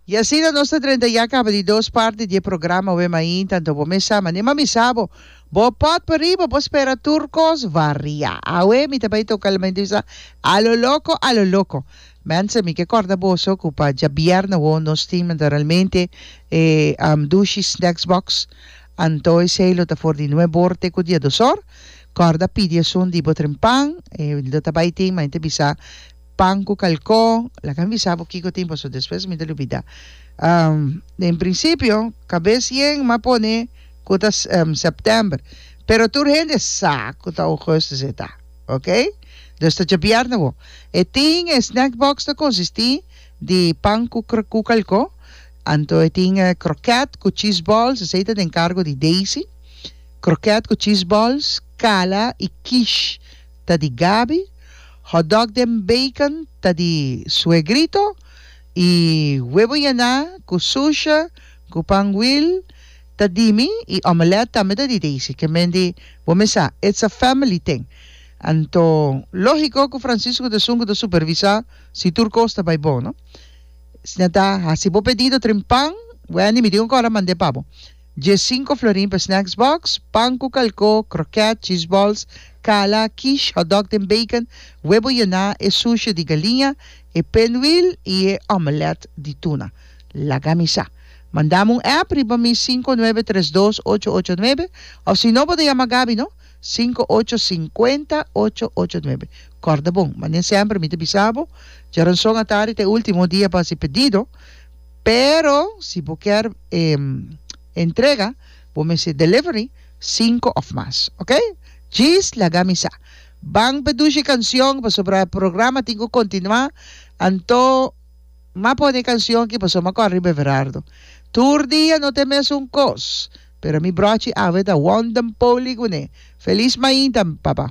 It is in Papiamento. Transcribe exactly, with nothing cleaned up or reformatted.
I asina nos ta drenta ya kaba di dos parti di e programa We Mainta, anto bo mes sa, manera mi a bisa bo, bo pot pa riba, bo spera tur kos varia. Awe mi ta bai toka mi ta bisa a lo loko, a lo loko. Mensen, mi ke kòrda boso ku pa djabièrnè awor nos tin naturalmente e Dushi Snacks Box, anto esei lo ta for di nuebe or te ku dia dos or. Kòrda pidi esun di bo trempan, e lo ta bai tin, mi ta bisa pan ku kalkó, laga mi bisa bo kiko tin pasobra despues mi ta lubidá. Den prinsipio kabes yen m'a pone ku ta sèptèmber, pero tur hende sa ku ta ougùstus e ta, oke? Dus ta djabièrnè bo. E tin e snack box ta konsistí di pan ku ku kalkó, anto e tin krokèt ku cheese balls, esei ta den kargo di Daisy, krokèt ku cheese balls, kala i quiche ta di Gaby, hotdog den bacon ta di Suegrito i webo yená ku susha ku pan wil ta di mi i omelet tambe ta di Daisy. Ke men di bo mes sa, it's a family thing. Anto lógiko ku Francisco ta esun ku ta supervisá si tur kos ta bai bon, no? Asina ta hasi bo pedido trin pan, Wendy mi tin un kòrda mand'é pa bo. Dje sinku florin pa snacks box, pan ku kalkó, kroket, cheese balls, kala, quiche, hotdog den bacon, webo yená, e sushi di galiña, e pinwheel i e omelet di tuna. Laga mi sa. Manda mi un app riba mi sinku nuebe tres dos ocho ocho nuebe òf si no bo ta yama Gaby no, sinku ocho sinkuenta ocho ocho nuebe. Kòrda bon, manera semper mi ta bisa bo, djaranson atardi ta e último dia pa hasi pedido. Pero si bo kier e entrega bo mester delivery cinco of mas ok djis laga mi sa ban pe dushi cancion pasobra programa tin cu continua anto ma pone e cancion aki pasobra ma cor riba Everardo tur dia no ta e mesun cos pero mi brochi awe ta wondem poli cune feliz mainta papa.